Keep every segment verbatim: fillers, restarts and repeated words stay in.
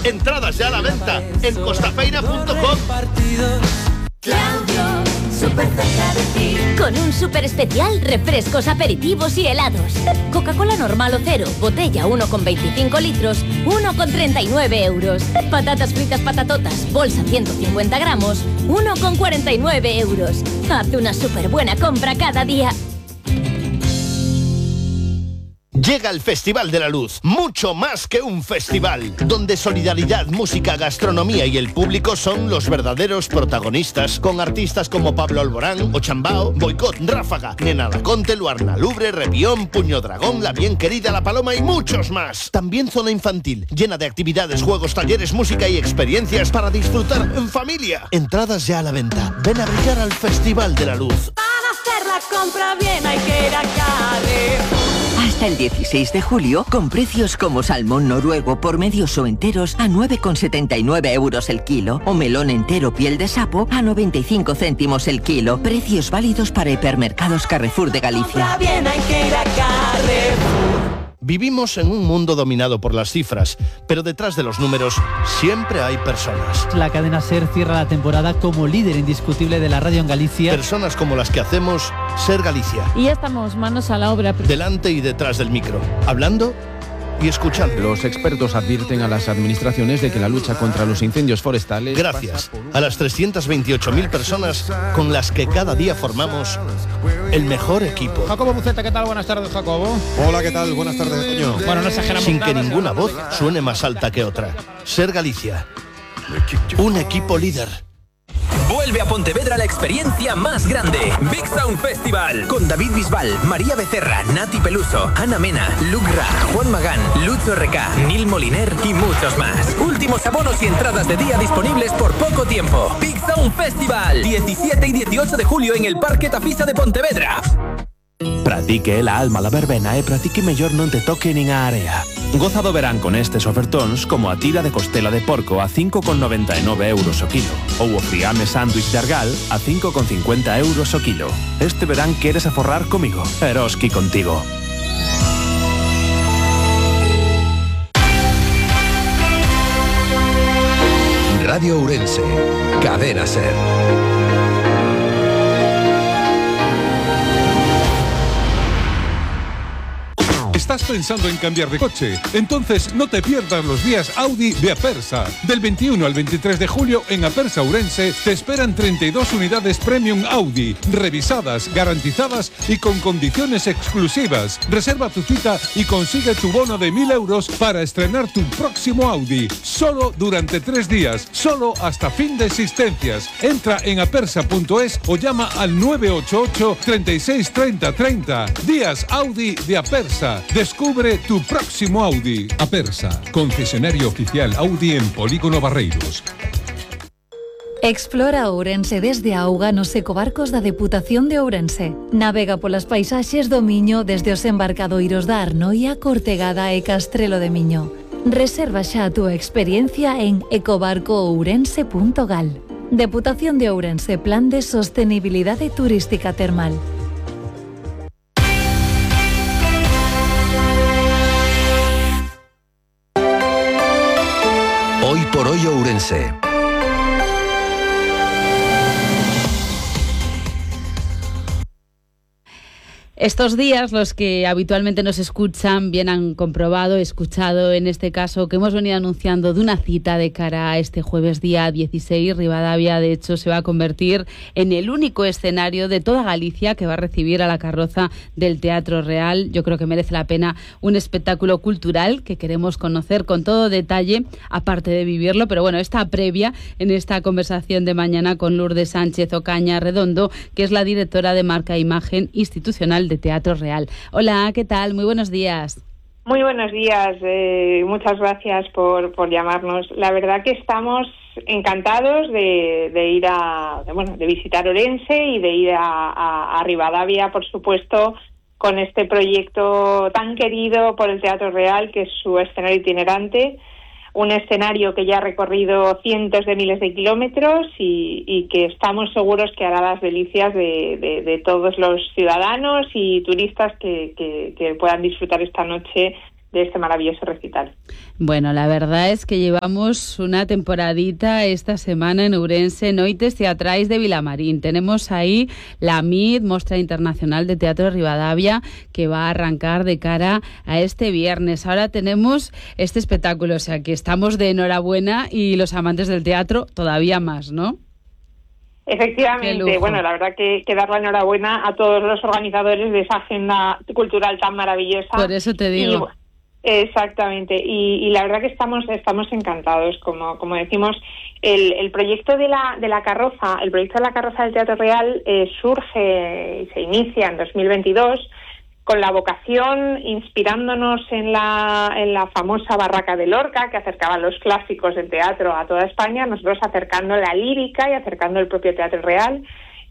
Entradas ya a la venta en costafeira punto com. Claudio, súper cerca de ti. Con un súper especial, refrescos, aperitivos y helados. Coca-Cola normal o cero, botella uno con veinticinco litros, uno con treinta y nueve euros. Patatas fritas patatotas, bolsa ciento cincuenta gramos, uno con cuarenta y nueve euros. Haz una súper buena compra cada día. Llega el Festival de la Luz, mucho más que un festival, donde solidaridad, música, gastronomía y el público son los verdaderos protagonistas, con artistas como Pablo Alborán, Ochambao, Boicot, Ráfaga, Nena Laconte, Luarna Lubre, Repión, Puño Dragón, La Bien Querida, La Paloma y muchos más. También zona infantil, llena de actividades, juegos, talleres, música y experiencias para disfrutar en familia. Entradas ya a la venta. Ven a brillar al Festival de la Luz. Para hacer la compra bien hay que ir a Carrefour. Hasta el dieciséis de julio, con precios como salmón noruego por medios o enteros a nueve con setenta y nueve euros el kilo, o melón entero piel de sapo a noventa y cinco céntimos el kilo. Precios válidos para hipermercados Carrefour de Galicia. Bien hay que ir a Carrefour. Vivimos en un mundo dominado por las cifras, pero detrás de los números siempre hay personas. La cadena SER cierra la temporada como líder indiscutible de la radio en Galicia. Personas como las que hacemos Ser Galicia. Y ya estamos manos a la obra. Delante y detrás del micro, hablando y escuchando. Los expertos advierten a las administraciones de que la lucha contra los incendios forestales... Gracias a las trescientas veintiocho mil personas con las que cada día formamos el mejor equipo. Jacobo Buceta, ¿qué tal? Buenas tardes, Jacobo. Hola, ¿qué tal? Buenas tardes, Toño. Bueno, no exageramos Sin nada, que ninguna voz suene más alta que otra. Ser Galicia. Un equipo líder. Vuelve a Pontevedra la experiencia más grande, Big Sound Festival, con David Bisbal, María Becerra, Nati Peluso, Ana Mena, Luc Ra, Juan Magán, Lucho R K, Nil Moliner y muchos más. Últimos abonos y entradas de día disponibles por poco tiempo. Big Sound Festival, diecisiete y dieciocho de julio en el Parque Tafisa de Pontevedra. Pratique la alma la verbena e pratique mellor non te toque nin a area. Goza do verán con estes ofertóns como a tira de costela de porco a cinco con noventa e nove euros o kilo ou o friame sándwich de argal a cinco con cincuenta euros o kilo. Este verán queres aforrar comigo, Eroski contigo. Radio Ourense, Cadena SER. ¿Estás pensando en cambiar de coche? Entonces no te pierdas los días Audi de Apersa. Del veintiuno al veintitrés de julio en Apersa Ourense te esperan treinta y dos unidades Premium Audi, revisadas, garantizadas y con condiciones exclusivas. Reserva tu cita y consigue tu bono de mil euros para estrenar tu próximo Audi. Solo durante tres días, solo hasta fin de existencias. Entra en apersa punto es o llama al nueve ocho ocho, treinta y seis, treinta, treinta. Días Audi de Apersa. Descubre tu próximo Audi. Apersa, concesionario oficial Audi en Polígono Barreiros. Explora Ourense desde a auga nos ecobarcos da Deputación de Ourense. Navega polas paisaxes do Miño desde os embarcadoiros da Arnoia, Cortegada e Castrelo de Miño. Reserva xa a túa experiencia en ecobarco ourense punto gal. Deputación de Ourense, Plan de Sostenibilidade Turística Termal. Hoy por hoy Ourense. Estos días los que habitualmente nos escuchan bien han comprobado, escuchado en este caso que hemos venido anunciando de una cita de cara a este jueves día dieciséis. Ribadavia de hecho se va a convertir en el único escenario de toda Galicia que va a recibir a la carroza del Teatro Real. Yo creo que merece la pena un espectáculo cultural que queremos conocer con todo detalle, aparte de vivirlo, pero bueno, esta previa en esta conversación de mañana con Lourdes Sánchez Ocaña Redondo, que es la directora de Marca e Imagen Institucional de Teatro Real. Hola, ¿qué tal? Muy buenos días. Muy buenos días, eh, muchas gracias por, por llamarnos. La verdad que estamos encantados de, de ir a, de, bueno, de visitar Ourense y de ir a, a, a Ribadavia, por supuesto, con este proyecto tan querido por el Teatro Real, que es su escenario itinerante. Un escenario que ya ha recorrido cientos de miles de kilómetros y, y que estamos seguros que hará las delicias de, de, de todos los ciudadanos y turistas que, que, que puedan disfrutar esta noche de este maravilloso recital. Bueno, la verdad es que llevamos una temporadita esta semana en Ourense, Noites Teatrais de Vilamarín. Tenemos ahí la M I D, Mostra Internacional de Teatro de Rivadavia, que va a arrancar de cara a este viernes. Ahora tenemos este espectáculo, o sea que estamos de enhorabuena y los amantes del teatro todavía más, ¿no? Efectivamente, bueno, la verdad que, que dar la enhorabuena a todos los organizadores de esa agenda cultural tan maravillosa. Por eso te digo. Y, exactamente, y, y la verdad que estamos estamos encantados, como como decimos, el, el proyecto de la de la carroza, el proyecto de la carroza del Teatro Real eh, surge y se inicia en dos mil veintidós con la vocación, inspirándonos en la en la famosa Barraca de Lorca, que acercaba los clásicos del teatro a toda España, nosotros acercando la lírica y acercando el propio Teatro Real,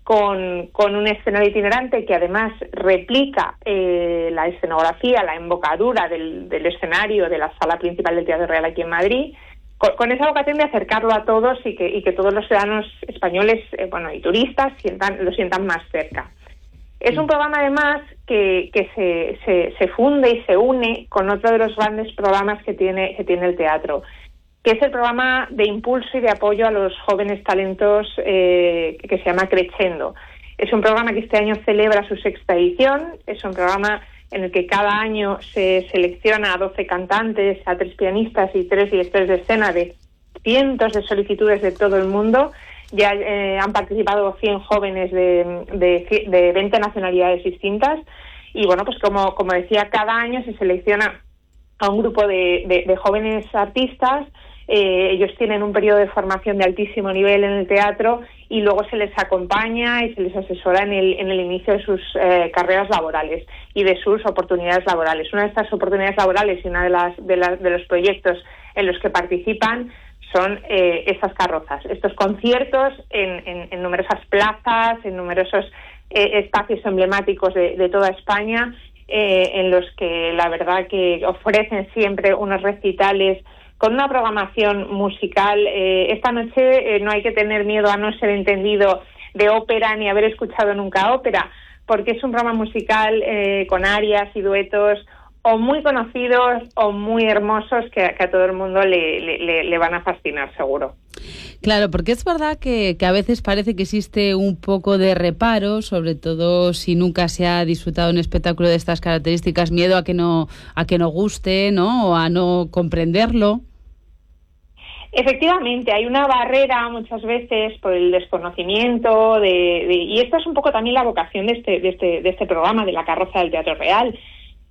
Con, con un escenario itinerante que además replica eh, la escenografía, la embocadura del, del escenario de la sala principal del Teatro Real aquí en Madrid, con, con esa vocación de acercarlo a todos y que, y que todos los ciudadanos españoles eh, bueno, y turistas sientan, lo sientan más cerca. Es un programa además que, que se, se, se funde y se une con otro de los grandes programas que tiene, que tiene el teatro, que es el programa de impulso y de apoyo a los jóvenes talentos eh, que se llama Crescendo. Es un programa que este año celebra su sexta edición, es un programa en el que cada año se selecciona a doce cantantes, a tres pianistas y tres directores de escena de cientos de solicitudes de todo el mundo. Ya eh, han participado cien jóvenes de, de, de veinte nacionalidades distintas y bueno, pues como, como decía, cada año se selecciona a un grupo de, de, de jóvenes artistas. Eh, ellos tienen un periodo de formación de altísimo nivel en el teatro y luego se les acompaña y se les asesora en el, en el inicio de sus eh, carreras laborales y de sus oportunidades laborales. Una de estas oportunidades laborales y una de las de, las, de los proyectos en los que participan son eh, estas carrozas, estos conciertos en, en, en numerosas plazas, en numerosos eh, espacios emblemáticos de, de toda España, eh, en los que la verdad que ofrecen siempre unos recitales con una programación musical. Eh, esta noche eh, no hay que tener miedo a no ser entendido de ópera ni haber escuchado nunca ópera, porque es un programa musical eh, con arias y duetos o muy conocidos o muy hermosos que, que a todo el mundo le, le, le van a fascinar, seguro. Claro, porque es verdad que, que a veces parece que existe un poco de reparo, sobre todo si nunca se ha disfrutado un espectáculo de estas características, miedo a que no a que no guste, ¿no? O a no comprenderlo. Efectivamente, hay una barrera muchas veces por el desconocimiento de, de y esta es un poco también la vocación de este de este de este programa de la carroza del Teatro Real.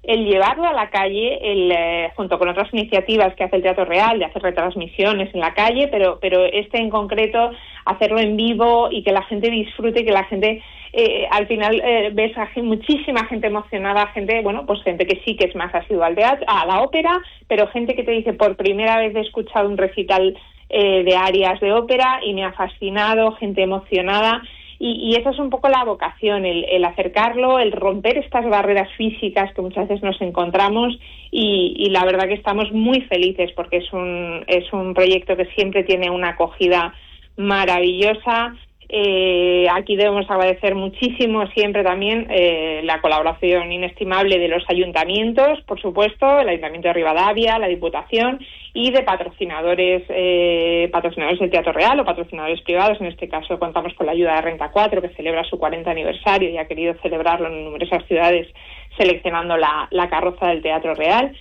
El llevarlo a la calle, el, eh, junto con otras iniciativas que hace el Teatro Real, de hacer retransmisiones en la calle, pero pero este en concreto, hacerlo en vivo y que la gente disfrute, y que la gente, eh, al final, eh, ves a muchísima gente emocionada, gente, bueno, pues gente que sí que es más asidua al teatro, a la ópera, pero gente que te dice, por primera vez he escuchado un recital eh, de arias de ópera y me ha fascinado, gente emocionada. Y, y esa es un poco la vocación, el, el acercarlo, el romper estas barreras físicas que muchas veces nos encontramos y, y la verdad que estamos muy felices porque es un, es un proyecto que siempre tiene una acogida maravillosa. Eh, aquí debemos agradecer muchísimo siempre también eh, la colaboración inestimable de los ayuntamientos, por supuesto, el Ayuntamiento de Rivadavia, la Diputación y de patrocinadores eh, patrocinadores del Teatro Real o patrocinadores privados. En este caso contamos con la ayuda de Renta cuatro, que celebra su cuarenta aniversario y ha querido celebrarlo en numerosas ciudades seleccionando la, la carroza del Teatro Real.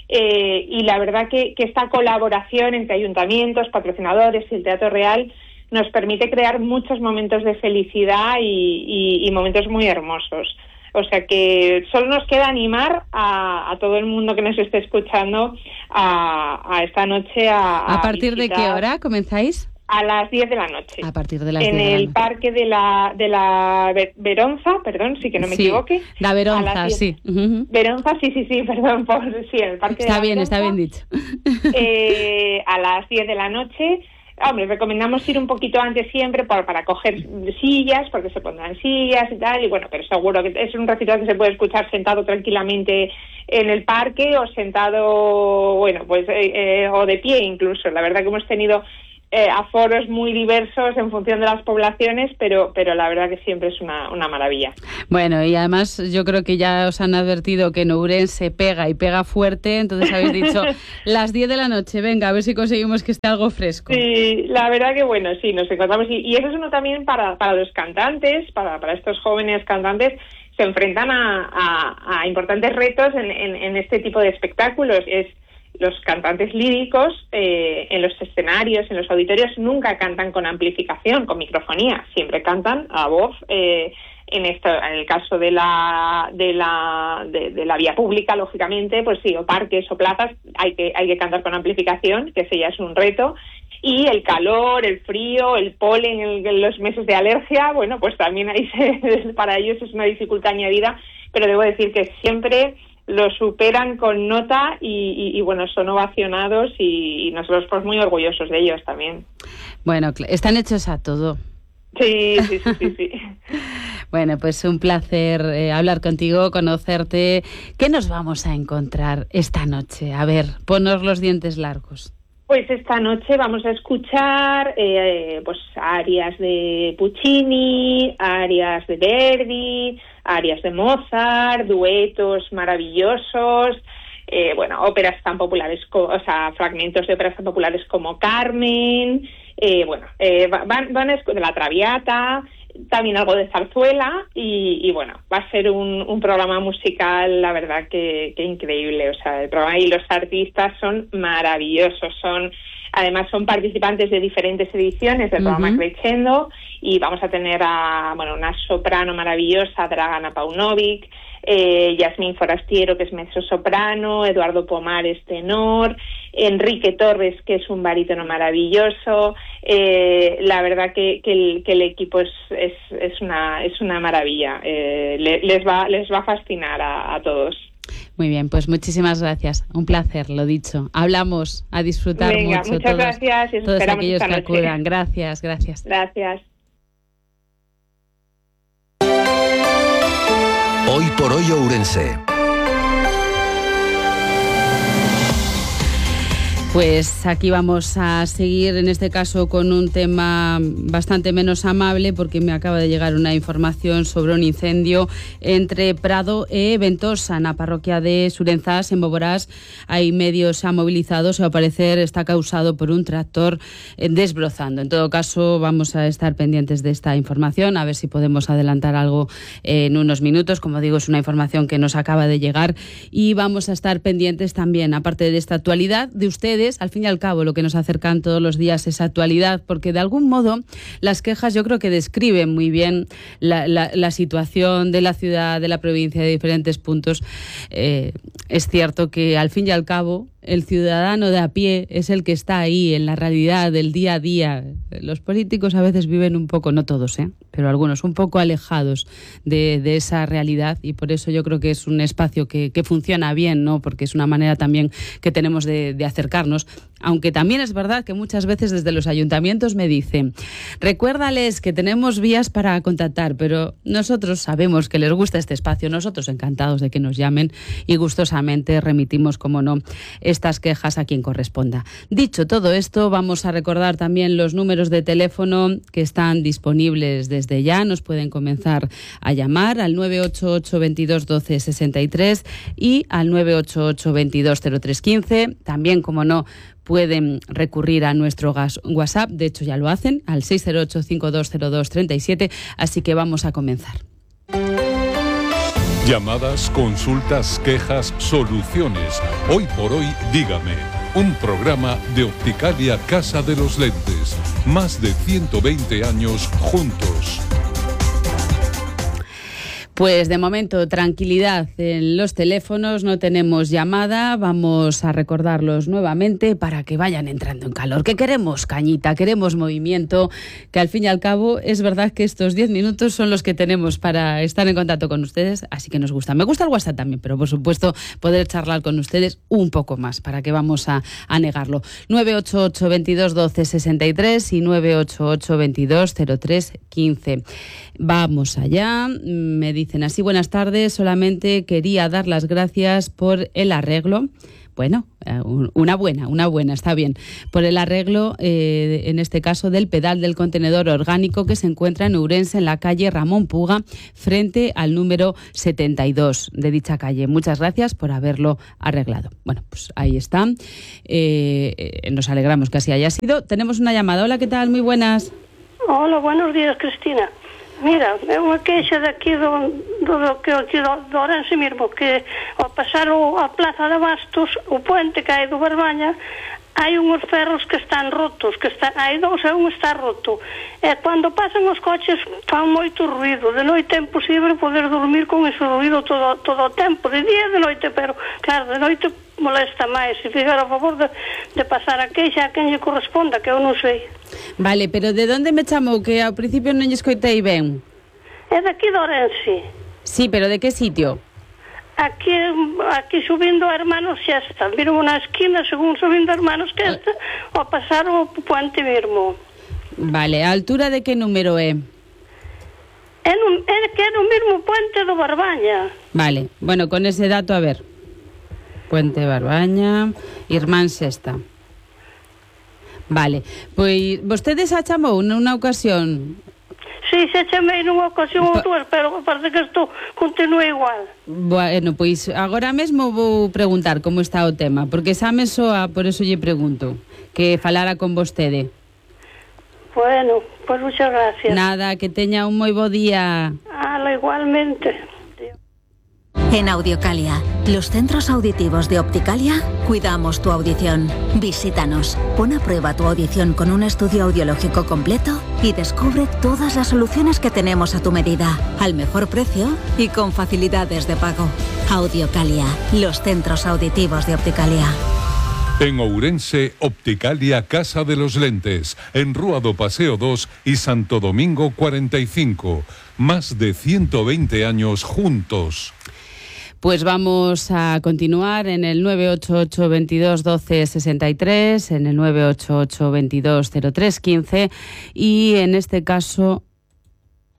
Eh, y la verdad que, que esta colaboración entre ayuntamientos, patrocinadores y el Teatro Real nos permite crear muchos momentos de felicidad y, y, y momentos muy hermosos. O sea que solo nos queda animar a, a todo el mundo que nos esté escuchando a, a esta noche a... ¿A, ¿A partir de qué hora comenzáis? A las diez de la noche. A partir de las en diez de la el noche. parque de la de la Veronza, perdón, sí que no me sí, equivoque. La Veronza, sí. Uh-huh. Veronza, sí, sí, sí, perdón, por sí, el parque está de la bien, Veronza, está bien dicho. Eh, a las diez de la noche. Hombre, recomendamos ir un poquito antes siempre para, para coger sillas, porque se pondrán sillas y tal, y bueno, pero seguro que es un recital que se puede escuchar sentado tranquilamente en el parque o sentado, bueno, pues, eh, eh, o de pie incluso. La verdad que hemos tenido eh, aforos muy diversos en función de las poblaciones, pero, pero la verdad que siempre es una, una maravilla. Bueno, y además yo creo que ya os han advertido que en Ourense pega y pega fuerte, entonces habéis dicho las diez de la noche, venga, a ver si conseguimos que esté algo fresco. Sí, la verdad que bueno, sí, nos encontramos, y, y eso es uno también para, para los cantantes, para, para estos jóvenes cantantes, se enfrentan a, a, a importantes retos en, en, en este tipo de espectáculos. Es los cantantes líricos eh, en los escenarios, en los auditorios, nunca cantan con amplificación, con microfonía, siempre cantan a voz. Eh, en esto, en el caso de la de la de, de la vía pública, lógicamente, pues sí, o parques o plazas, hay que hay que cantar con amplificación, que ese ya es un reto. Y el calor, el frío, el polen en, en los meses de alergia, bueno, pues también ahí se, para ellos es una dificultad añadida, pero debo decir que siempre lo superan con nota y, y, y bueno, son ovacionados y, y nosotros pues muy orgullosos de ellos también. Bueno, están hechos a todo. Sí, sí, sí, sí, sí. Bueno, pues un placer eh, hablar contigo, conocerte. ¿Qué nos vamos a encontrar esta noche? A ver, ponos los dientes largos. Pues esta noche vamos a escuchar eh, pues arias de Puccini, arias de Verdi, arias de Mozart, duetos maravillosos, eh, bueno, óperas tan populares, co- o sea, fragmentos de óperas tan populares como Carmen, eh, bueno, eh, van, van a escuchar La Traviata, también algo de zarzuela y, y bueno, va a ser un, un programa musical, la verdad que, que increíble, o sea, el programa y los artistas son maravillosos, son además son participantes de diferentes ediciones del programa uh-huh. Crescendo y vamos a tener a, bueno, una soprano maravillosa, Dragana Paunovic, eh, Yasmín Forastiero, que es mezzosoprano, Eduardo Pomares, tenor, Enrique Torres, que es un barítono maravilloso. Eh, la verdad que, que, el, que el equipo es, es, es, una, es una maravilla. Eh, le, les, va, les va a fascinar a, a todos. Muy bien, pues muchísimas gracias. Un placer, lo dicho. Hablamos, a disfrutar Venga, mucho. Muchas todos, gracias y todos esperamos aquellos esta que noche. acudan. Gracias, gracias. Gracias. Hoy por hoy Ourense. Pues aquí vamos a seguir, en este caso, con un tema bastante menos amable, porque me acaba de llegar una información sobre un incendio entre Prado e Ventosa, en la parroquia de Surenzás, en Boborás. Hay medios movilizados y al parecer está causado por un tractor desbrozando. En todo caso, vamos a estar pendientes de esta información, a ver si podemos adelantar algo en unos minutos. Como digo, es una información que nos acaba de llegar y vamos a estar pendientes también, aparte de esta actualidad, de ustedes. Al fin y al cabo, lo que nos acercan todos los días es actualidad, porque de algún modo las quejas yo creo que describen muy bien la, la, la situación de la ciudad, de la provincia, de diferentes puntos. Eh, es cierto que al fin y al cabo el ciudadano de a pie es el que está ahí en la realidad del día a día. Los políticos a veces viven un poco, no todos, ¿eh? pero algunos, un poco alejados de, de esa realidad, y por eso yo creo que es un espacio que, que funciona bien, ¿no? Porque es una manera también que tenemos de, de acercarnos, aunque también es verdad que muchas veces desde los ayuntamientos me dicen, recuérdales que tenemos vías para contactar, pero nosotros sabemos que les gusta este espacio, nosotros encantados de que nos llamen y gustosamente remitimos, como no, estas quejas a quien corresponda. Dicho todo esto, vamos a recordar también los números de teléfono que están disponibles desde ya. Nos pueden comenzar a llamar al nueve ocho ocho, veintidós, doce, sesenta y tres y al nueve ocho ocho, veintidós, cero tres, quince. También, como no, pueden recurrir a nuestro WhatsApp, de hecho ya lo hacen, al seis cero ocho, cincuenta y dos cero dos, treinta y siete, así que vamos a comenzar. Llamadas, consultas, quejas, soluciones. Hoy por hoy, dígame. Un programa de Opticalia Casa de los Lentes. Más de ciento veinte años juntos. Pues de momento, tranquilidad en los teléfonos, no tenemos llamada, vamos a recordarlos nuevamente para que vayan entrando en calor, que queremos cañita, queremos movimiento, que al fin y al cabo es verdad que estos diez minutos son los que tenemos para estar en contacto con ustedes, así que nos gusta. Me gusta el WhatsApp también, pero por supuesto poder charlar con ustedes un poco más, para que vamos a, a negarlo. nueve ocho ocho, veintidós, doce, sesenta y tres y nueve ocho ocho, veintidós, cero tres, quince. Vamos allá, me dicen así, buenas tardes, solamente quería dar las gracias por el arreglo. bueno, una buena, una buena, está bien, por el arreglo, eh, en este caso, del pedal del contenedor orgánico que se encuentra en Ourense, en la calle Ramón Puga, frente al número setenta y dos de dicha calle. Muchas gracias por haberlo arreglado. Bueno, pues ahí está. Eh, nos alegramos que así haya sido. Tenemos una llamada. Hola, ¿qué tal? Muy buenas. Hola, buenos días, Cristina. Mira, é unha queixa daqui do, do, do, que aquí do, do Ourense mesmo, que ao pasar o, a Plaza de Bastos, o puente que hai do Barbaña, hai unhos ferros que están rotos, que están, hai dous e un está roto. E cando pasan os coches fan moito ruido. De noite é imposible poder dormir con ese ruido todo, todo o tempo, de día e de noite, pero claro, de noite molesta máis. Se fixera a favor de, de pasar a queixa a quen lle corresponda, que eu non sei. Vale, pero de onde me chamou? Que ao principio non lle escoitei ben. É daqui de Ourense. Sí, pero de que sitio? Aquí, aquí subindo a Hermanos Xesta. Miro na esquina, según subindo a Hermanos Xesta, ao pasar o puente mesmo. Vale, a altura de que número é? É, no, é que é no mesmo puente do Barbaña. Vale, bueno, con ese dato, a ver. Puente Barbaña, Irmán Xesta. Vale, pois vostedes a chamou nunha ocasión? Sí, se chamei nunha ocasión ou dúas, pero parece que isto continúa igual. Bueno, pois agora mesmo vou preguntar como está o tema, porque xa me soa, por eso lle pregunto, que falara con vostede. Bueno, pois pues muchas gracias. Nada, que teña un moi bo día. Ala, igualmente. En Audiocalia, los centros auditivos de Opticalia, cuidamos tu audición. Visítanos, pon a prueba tu audición con un estudio audiológico completo y descubre todas las soluciones que tenemos a tu medida, al mejor precio y con facilidades de pago. Audiocalia, los centros auditivos de Opticalia. En Ourense, Opticalia Casa de los Lentes, en Rúa do Paseo dos y Santo Domingo cuarenta y cinco. Más de ciento veinte años juntos. Pues vamos a continuar en el nueve ocho ocho, veintidós, doce, sesenta y tres, en el nueve ocho ocho, veintidós, cero tres, quince y en este caso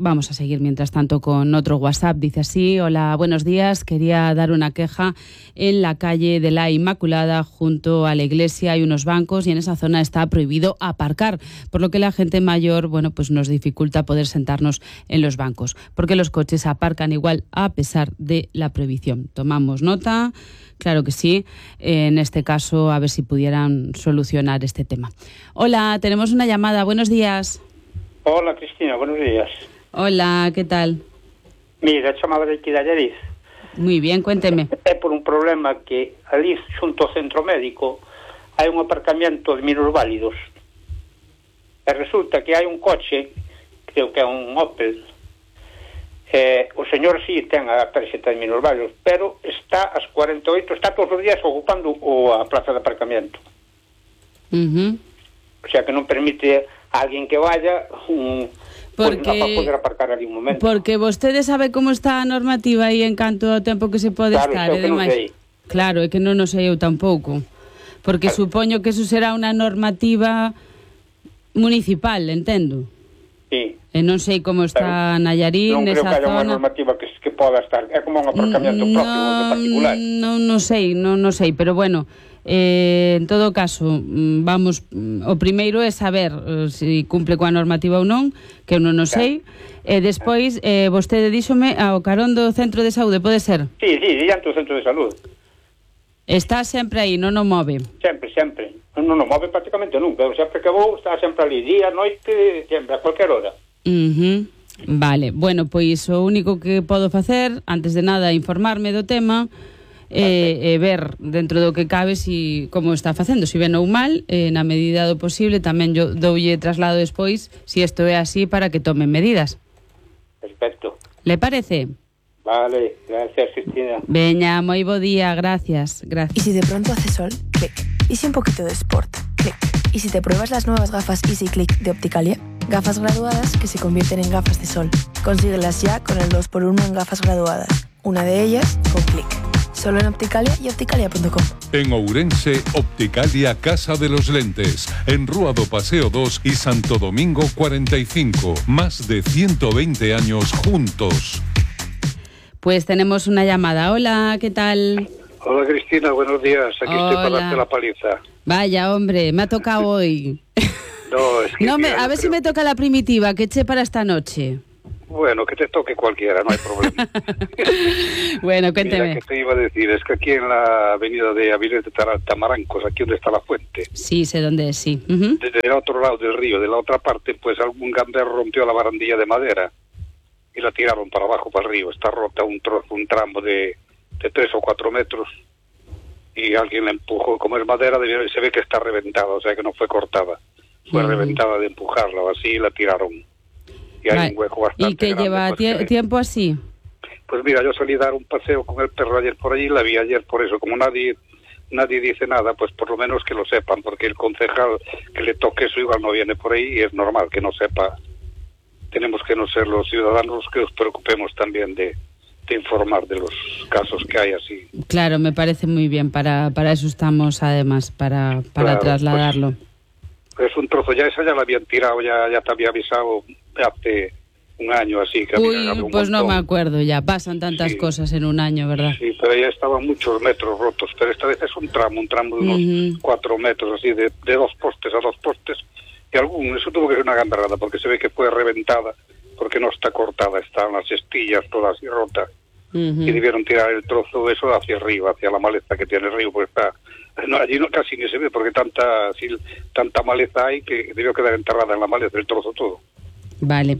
vamos a seguir mientras tanto con otro WhatsApp. Dice así: hola, buenos días, quería dar una queja. En la calle de la Inmaculada, junto a la iglesia, hay unos bancos y en esa zona está prohibido aparcar, por lo que la gente mayor, bueno, pues nos dificulta poder sentarnos en los bancos, porque los coches aparcan igual a pesar de la prohibición. Tomamos nota, claro que sí, en este caso a ver si pudieran solucionar este tema. Hola, tenemos una llamada, buenos días. Hola, Cristina, buenos días. Hola, ¿qué tal? Mira, chamaba de aquí de Allariz. Muy bien, cuénteme. É por un problema que ali xunto ao centro médico hai un aparcamento de minusválidos. E resulta que hai un coche, creo que é un Opel, eh, o señor sí ten a tarxeta de minusválidos, pero está ás cuarenta e oito, está todos os días ocupando o, a plaza de aparcamento. Uh-huh. O sea que non permite a alguén que vaya un... Porque, pues, para poder aparcar ali un momento. Porque vostede sabe como está a normativa aí en canto ao tempo que se pode claro, estar, e demais. Claro, é que non o sei eu tampouco. Porque claro. Supoño que eso será unha normativa municipal, entendo. Sí. E non sei como está claro. Nayarín, nesa zona. Non creo que haya unha normativa que, que poda estar, é como un aparcamiento no, propio de particular. Non, non sei, non, non sei, pero bueno, Eh, en todo caso, vamos, o primeiro é saber eh, se cumpre coa normativa ou non, que eu non o sei, e despois eh, vostede díxome ao carón do centro de saúde, pode ser? Sí, sí, diante do centro de saúde. Está sempre aí, non o move? Sempre, sempre, non o move prácticamente nunca, sempre que vou está sempre ali, día, noite, sempre, a cualquier hora. Uh-huh. Vale, bueno, pois o único que podo facer, antes de nada, informarme do tema e eh, eh, ver dentro do que cabe si como está facendo, si ben ou mal, eh, na medida do posible tamén yo doulle traslado despois si isto é así para que tomen medidas. Perfecto. Le parece? Vale, gracias, Cristina. Veña, moi bo día, gracias, gracias. Y si de pronto hace sol, clic. Y si un poquito de sport, clic. Y si te pruebas las nuevas gafas Easy Click de Opticalia, gafas graduadas que se convierten en gafas de sol. Consíguelas ya con el dos por uno en gafas graduadas. Una de ellas con clic. Solo en Opticalia y opticalia punto com. En Ourense, Opticalia Casa de los Lentes, en Rúa do Paseo dos y Santo Domingo cuarenta y cinco. Más de ciento veinte años juntos. Pues tenemos una llamada. Hola, ¿qué tal? Hola Cristina, buenos días. Aquí Hola. estoy para darte la paliza. Vaya, hombre, me ha tocado hoy. No, es que No, me, mira, a yo ver si creo- me toca la primitiva, que eché para esta noche. Bueno, que te toque cualquiera, no hay problema. Bueno, cuénteme. Mira, que te iba a decir, es que aquí en la avenida de Avilés de Tara- Tamarancos, aquí donde está la fuente, Sí, sé dónde es, sí. Ujú. desde el otro lado del río, de la otra parte, pues algún gamberro rompió la barandilla de madera y la tiraron para abajo, para el río. Está rota un trozo, un tramo de, de tres o cuatro metros y alguien la empujó. Como es madera, debió- se ve que está reventada, o sea que no fue cortada. Fue Mm. reventada de empujarla, o así y la tiraron. Y hay Vale. un hueco bastante ¿Y que grande, lleva pues, tie- que- tiempo así? Pues mira, yo salí a dar un paseo con el perro ayer por allí, la vi ayer por eso. Como nadie nadie dice nada, pues por lo menos que lo sepan, porque el concejal que le toque eso igual no viene por ahí y es normal que no sepa. Tenemos que no ser los ciudadanos que nos preocupemos también de, de informar de los casos que hay así. Claro, me parece muy bien. Para, para eso estamos, además, para, para Claro, trasladarlo. Es un trozo, ya esa ya la habían tirado, ya, ya te había avisado hace un año así. Que Uy, había, había un pues no me montón. acuerdo ya. Pasan tantas Sí. cosas en un año, ¿verdad? Sí, pero ya estaban muchos metros rotos, pero esta vez es un tramo, un tramo de unos Ujú. cuatro metros, así, de, de dos postes a dos postes, y algún, eso tuvo que ser una gamberrada, porque se ve que fue reventada, porque no está cortada, están las estillas todas así rotas, Ujú. y debieron tirar el trozo de eso hacia arriba, hacia la maleza que tiene el río, porque está, no, allí no, casi ni se ve, porque tanta, así, tanta maleza hay que debió quedar enterrada en la maleza, el trozo todo. Vale.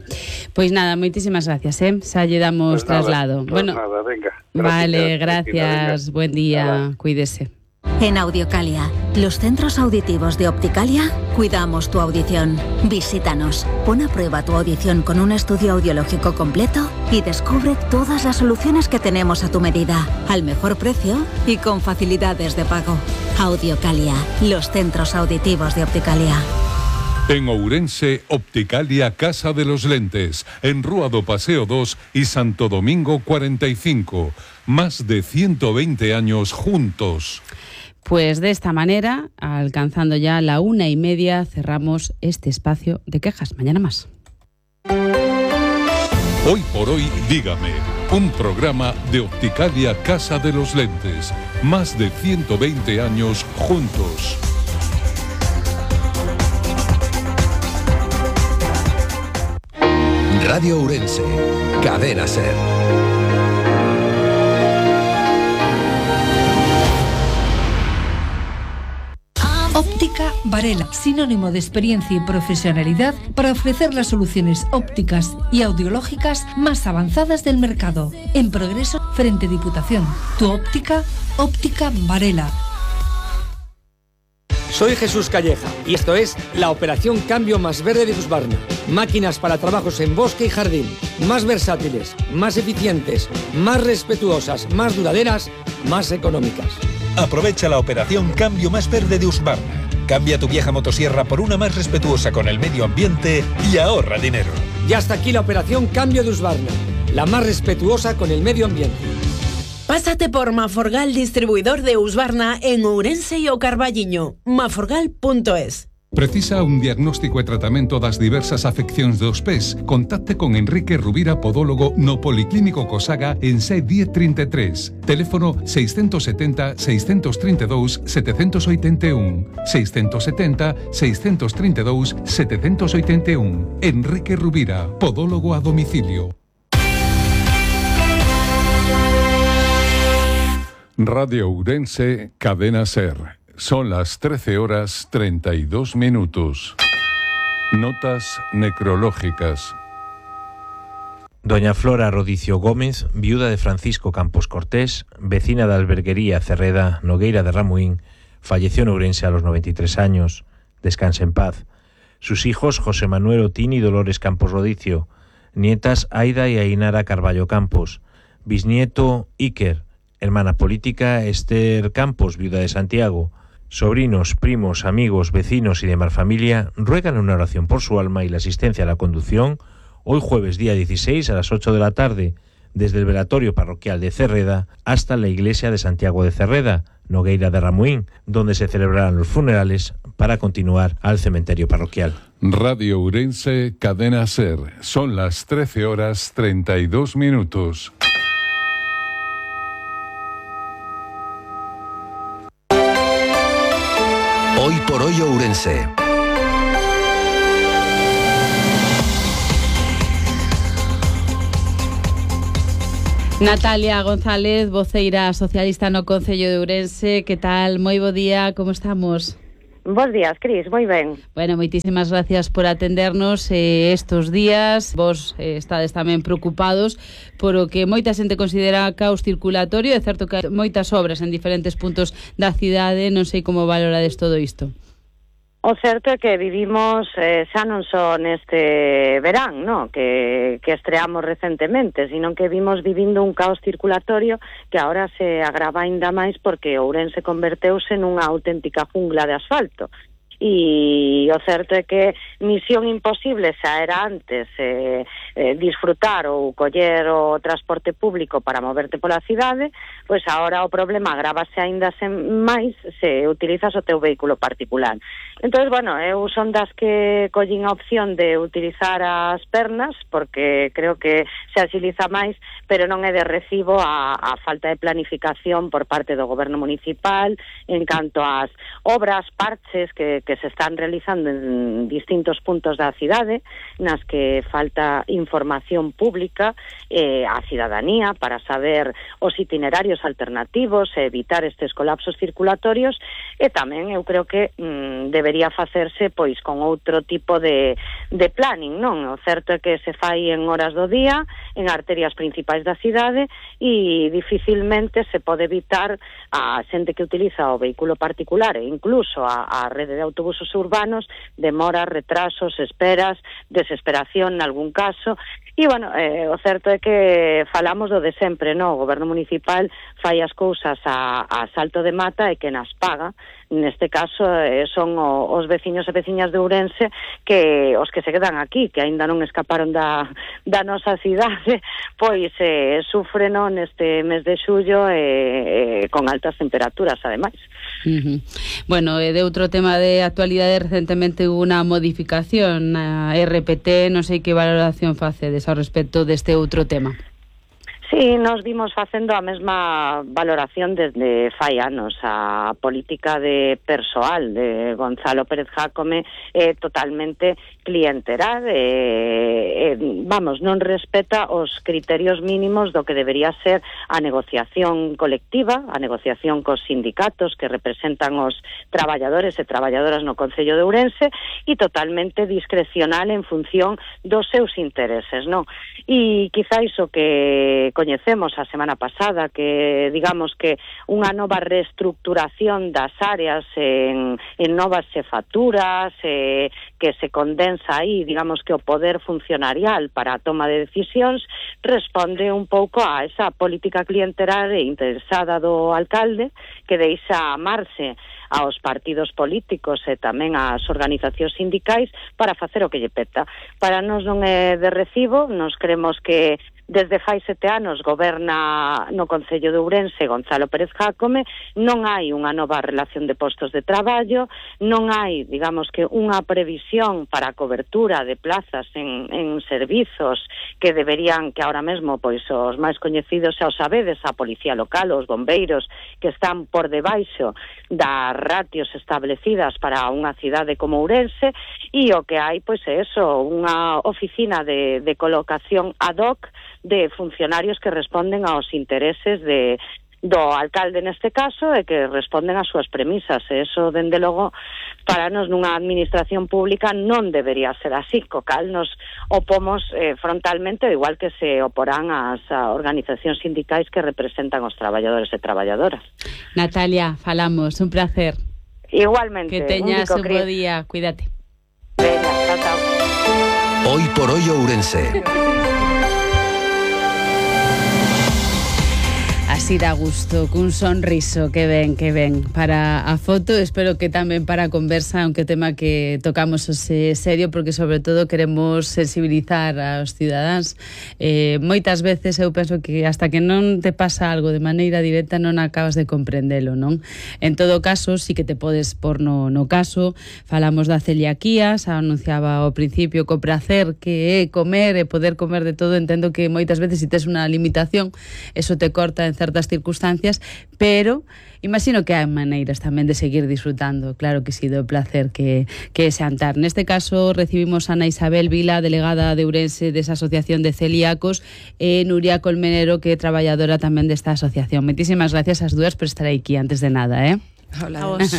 Pues nada, muchísimas gracias, ¿eh? Xa lle damos Pues nada, traslado. pues bueno, nada, venga. vale, Cristina, venga. gracias. Buen día. Cuídese. En Audiocalia, los centros auditivos de Opticalia, cuidamos tu audición. Visítanos, pon a prueba tu audición con un estudio audiológico completo y descubre todas las soluciones que tenemos a tu medida, al mejor precio y con facilidades de pago. Audiocalia, los centros auditivos de Opticalia. En Ourense, Opticalia Casa de los Lentes, en Rúa do Paseo dos y Santo Domingo cuarenta y cinco. Más de ciento veinte años juntos. Pues de esta manera, alcanzando ya la una y media, cerramos este espacio de quejas. Mañana más. Hoy por hoy, dígame, un programa de Opticalia Casa de los Lentes. Más de ciento veinte años juntos. Radio Ourense, Cadena Ser. Óptica Varela, sinónimo de experiencia y profesionalidad para ofrecer las soluciones ópticas y audiológicas más avanzadas del mercado. En progreso, frente Diputación. Tu óptica, Óptica Varela. Soy Jesús Calleja y esto es la operación Cambio Más Verde de Husqvarna. Máquinas para trabajos en bosque y jardín, más versátiles, más eficientes, más respetuosas, más duraderas, más económicas. Aprovecha la operación Cambio Más Verde de Husqvarna. Cambia tu vieja motosierra por una más respetuosa con el medio ambiente y ahorra dinero. Y hasta aquí la operación Cambio de Husqvarna, la más respetuosa con el medio ambiente. Pásate por Maforgal, distribuidor de Husqvarna en Ourense e o Carballiño. maforgal punto es. Precisa un diagnóstico e tratamento das diversas afeccións dos pés? Contacte con Enrique Rubira, podólogo no Policlínico Cosaga en C diez treinta e tres. Teléfono seiscentos setenta, seiscentos treinta e dous, setecentos oitenta e un. seiscentos setenta, seiscentos treinta e dous, setecentos oitenta e un. Enrique Rubira, podólogo a domicilio. Radio Ourense, Cadena Ser. Son las trece horas treinta y dos minutos. Notas necrológicas. Doña Flora Rodicio Gómez, viuda de Francisco Campos Cortés, vecina de Alberguería Cerreda, Nogueira de Ramuín, falleció en Ourense a los noventa y tres años. Descanse en paz. Sus hijos José Manuel Otín y Dolores Campos Rodicio, nietas Aida y Ainara Carballo Campos, bisnieto Iker, hermana política Esther Campos, viuda de Santiago. Sobrinos, primos, amigos, vecinos y demás familia ruegan una oración por su alma y la asistencia a la conducción hoy jueves día dieciséis a las ocho de la tarde, desde el velatorio parroquial de Cerreda hasta la iglesia de Santiago de Cerreda, Nogueira de Ramuín, donde se celebrarán los funerales para continuar al cementerio parroquial. Radio Ourense, Cadena Ser. Son las trece horas treinta y dos minutos. por hoy Ourense. Natalia González, voceira socialista no Concello de Ourense. Que tal? Moi bo día, como estamos? Bos días, Cris, moi ben. Bueno, moitísimas gracias por atendernos eh, estos días. Vos eh, estades tamén preocupados por o que moita xente considera caos circulatorio. É certo que hai moitas obras en diferentes puntos da cidade. Non sei como valorades todo isto. O certo é que vivimos eh, xa non só neste verán, no? que, que estreamos recentemente, sino que vimos vivindo un caos circulatorio que agora se agrava ainda máis porque Ourense converteuse nunha auténtica jungla de asfalto. E o certo é que misión imposible xa era antes eh, eh, disfrutar ou coller o transporte público para moverte pola cidade, pois agora o problema agrávase aínda sen máis se utilizas o teu vehículo particular. Entón, bueno, eu son das que collín a opción de utilizar as pernas porque creo que se agiliza máis, pero non é de recibo a, a falta de planificación por parte do goberno municipal en canto ás obras, parches que, que se están realizando en distintos puntos da cidade, nas que falta información pública eh, á cidadanía para saber os itinerarios alternativos e evitar estes colapsos circulatorios, e tamén eu creo que mm, debería facerse pois con outro tipo de, de planning, non? O certo é que se fai en horas do día, en arterias principais da cidade, e dificilmente se pode evitar a xente que utiliza o vehículo particular e incluso a, a rede de autobusos urbanos, demoras, retrasos, esperas, desesperación nalgún caso. E, bueno, eh, o certo é que falamos do de sempre, non? O goberno municipal fai as cousas a, a salto de mata e que nas paga. Neste caso eh, son o, os veciños e veciñas de Ourense que os que se quedan aquí, que aínda non escaparon da, da nosa cidade, pois eh, sufren neste mes de xullo eh, eh, con altas temperaturas, ademais. Uh-huh. Bueno, eh, de outro tema de actualidade, recentemente hubo unha modificación na R P T, non sei que valoración facedes ao respecto deste outro tema. Sí, nos vimos facendo a mesma valoración desde fai anos. A política de persoal de Gonzalo Pérez Jácome é totalmente clienteral, e, e, vamos, non respeta os criterios mínimos do que debería ser a negociación colectiva, a negociación cos sindicatos que representan os traballadores e traballadoras no Concello de Ourense, e totalmente discrecional en función dos seus intereses, non? E quizáis o que coñecemos a semana pasada, que digamos que unha nova reestructuración das áreas en, en novas xefaturas, eh, que se condensa aí, digamos que o poder funcionarial para a toma de decisións, responde un pouco a esa política clientelar e interesada do alcalde, que deixa amarse aos partidos políticos e tamén ás organizacións sindicais para facer o que lle peta. Para nós non é de recibo, nos creemos que desde fai sete anos goberna no Concello de Ourense Gonzalo Pérez Jácome, non hai unha nova relación de postos de traballo, non hai, digamos que, unha previsión para a cobertura de plazas en, en servizos que deberían, que ahora mesmo, pois, os máis coñecidos xa os sabedes, a Policía Local, os bombeiros, que están por debaixo das ratios establecidas para unha cidade como Ourense, e o que hai, pois, é eso, unha oficina de, de colocación ad hoc de funcionarios que responden aos intereses de do alcalde neste caso e que responden ás súas premisas. E eso, dende logo, para nos nunha administración pública non debería ser así, co cal nos opomos eh, frontalmente, igual que se oporán as organizacións sindicais que representan os traballadores e traballadoras. Natalia, falamos, un placer. Igualmente. Que teñas un, un bo día, cuídate. Venga, chao, chao. Hoy por hoy Ourense. Así dá gusto, cun sonriso, que ben, que ben para a foto, espero que tamén para a conversa, aunque tema que tocamos ose serio, porque sobre todo queremos sensibilizar aos cidadáns. Eh, moitas veces eu penso que hasta que non te pasa algo de maneira directa non acabas de comprendelo, non? En todo caso, sí que te podes por no, no caso, falamos da celiaquía, xa anunciaba ao principio co prazer que é comer e poder comer de todo. Entendo que moitas veces se tes unha limitación, eso te corta en certas circunstancias, pero imagino que hai maneiras tamén de seguir disfrutando, claro que sí, do placer que, que é xantar. Neste caso recibimos a Ana Isabel Vila, delegada de Ourense desa Asociación de Celíacos, e Nuria Colmenero, que é traballadora tamén desta asociación. Moitísimas gracias ás dúas por estar aquí antes de nada, eh? Hola. A vos.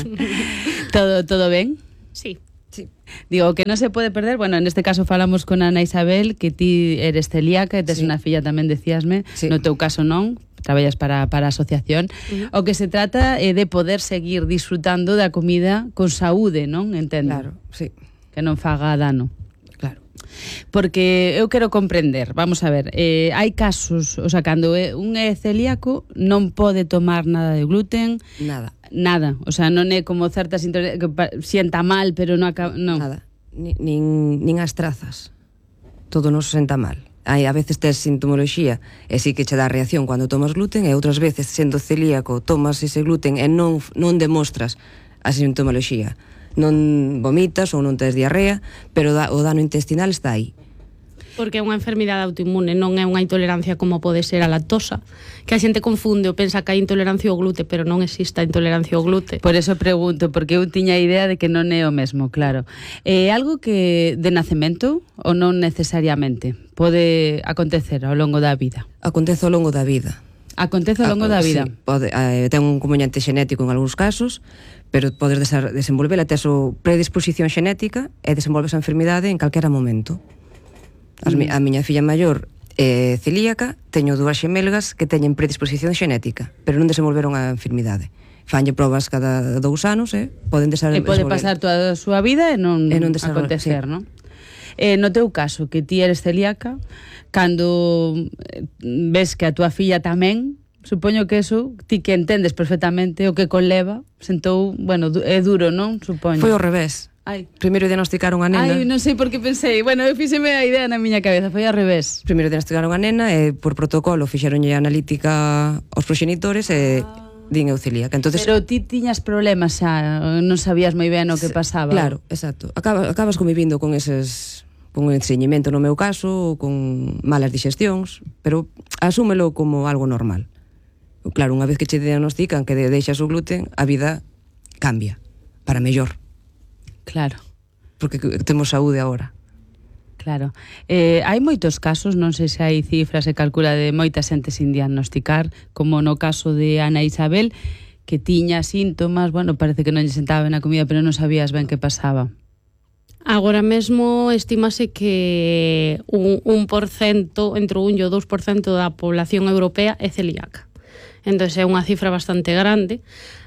todo, todo ben? Sí. Sí. Digo, que non se pode perder, bueno, neste caso falamos con Ana Isabel, que ti eres celíaca e tes Sí. unha filla tamén, decíasme, Sí. no teu caso non, traballas para, para a asociación. Uh-huh. O que se trata é de poder seguir disfrutando da comida con saúde, non? Entendo. Claro, sí. Que non faga dano. Claro. Porque eu quero comprender, vamos a ver, eh, hai casos, o sea, cando é, un é celíaco non pode tomar nada de gluten, Nada. nada, o sea, non é como certas intolerancias que pa- sienta mal, pero non acaba, non. Nada. Ni, nin, nin as trazas. Todo nos senta mal. Hai, a veces tes sintomoloxía e sí que che dá reacción cando tomas gluten, e outras veces, sendo celíaco, tomas ese gluten e non, non demostras a sintomoloxía. Non vomitas ou non tes diarrea, pero da, o dano intestinal está aí. Porque é unha enfermidade autoinmune, non é unha intolerancia como pode ser a lactosa, que a xente confunde ou pensa que hai intolerancia ao glute, pero non existe a intolerancia ao glute. Por eso pregunto, porque eu tiña a idea de que non é o mesmo, claro. É algo que de nacemento ou non necesariamente pode acontecer ao longo da vida? Acontece ao longo da vida. Acontece ao longo da vida? Sí, pode, eh, ten un componente xenético en algúns casos, pero podes desenvolvela, tes o predisposición xenética e desenvolves a enfermidade en calquera momento. As, mm. A miña filla maior é celíaca, teño dúas xemelgas que teñen predisposición xenética, pero non desenvolveron a enfermidade. Fanlle probas cada dous anos, eh? Poden desenvolver. E pode pasar toda a súa vida e non, e non acontecer, sí. non? Eh, no teu caso, que ti eres celíaca, cando ves que a túa filla tamén, supoño que eso, ti que entendes perfectamente o que conleva, sentou, bueno, é duro, non? Supoño. Foi ao revés. Ai. Primeiro diagnosticaron a nena. Ai, non sei por que pensei. Bueno, eu fíxeme a idea na miña cabeza, foi ao revés. Primeiro diagnosticaron a nena e por protocolo fixeronlle analítica aos proxenitores e ah. din eu celíaca. Entonces, pero ti tiñas problemas xa, non sabías moi ben o que pasaba. Claro, exacto. Acabas, acabas convivindo con eses, con estreñimiento no meu caso, con malas digestións, pero asúmelo como algo normal. Claro, unha vez que che diagnostican que deixas o gluten, a vida cambia para mellor. Claro. Porque temos saúde agora. Claro. Eh, hai moitos casos, non sei se hai cifras e calcula de moita xente sin diagnosticar, como no caso de Ana Isabel, que tiña síntomas, bueno, parece que non lle sentaba ben a comida, pero non sabías ben que pasaba. Agora mesmo estímase que un, un por cento, entre un e o dous por cento da población europea é celíaca. Entón é unha cifra bastante grande,